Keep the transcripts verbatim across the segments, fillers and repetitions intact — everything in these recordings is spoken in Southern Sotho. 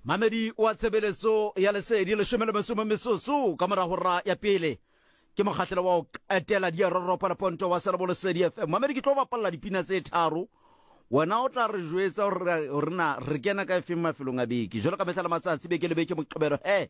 Mamedi wa tshebeletso ya Lesedi, leshome le metso metsotso ka mora hora ya pele, ke mokgahlelo wa ho qetela diaroropa le ponto wa Selebo Lesedi F M. Mamedi, ke tlo bapalla dipina tse tharo, wena o tla re jwetsa hore na re kena ka efeng mafelong a beke. Jwalo ka mehla le matsatsi, beke le beke, Moqebelo he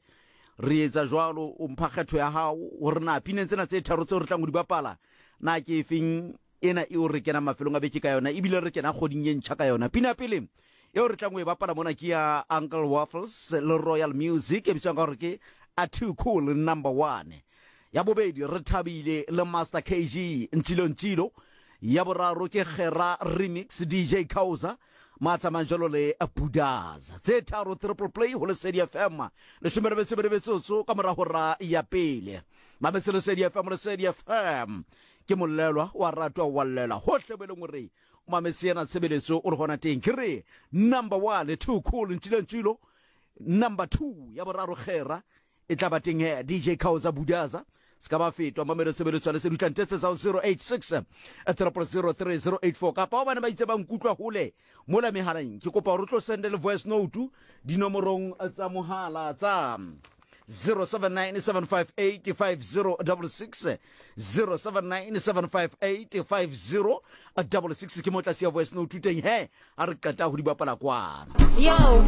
re etsa jwalo, o mpha kgetho ya hao hore na pineng tsena tse tharo tseo re tlang ho di bapala, na ke efeng ena eo re kenang mafelong a beke ka yona, ebile re kena kgoding e ntjha ka yona. Pina ya pele eo re tlang ho e bapala mona ke ya Uncle Waffles le Royal Music, e bitswang ka hore ke A Too Cool Number One. Ya bobedi, Re Thabile le Master K G, Ntšilo Ntšilo. Ya boraro ke Gera Remix, D J Causa matsamayang jalo le Budaza. Tse tharo, triple play ho Lesedi F M, leshome le metso e metsotso ka mora hora ya pele. Mametse Lesedi F M. Lesedi F M ke mollelwa wa ratwa wa llela hohle mo e leng hore o mametse ena tshebeletso o re hona teng. Ke re number one, Too Cool, Ntšilo Ntšilo. Number two, ya boraro, Gera, e tla ba teng he D J Causa, Budaza. Se ka ba fetwa, mamelo tshebeletso ya Lesedi. Tla ntetsetsa ho zero eight six zero zero three zero eight four, kapa bane ba itse ba nkutlwa hole mola mehaleng, ke kopa hore o tlo sende le voice note dinomorong tsa mohala tsa zero seven nine seven five eight five zero six six, zero seven nine seven five eight five zero six six. Ke mo tlase ya voice note teng he a re qeta ho di bapala kwana. Yo.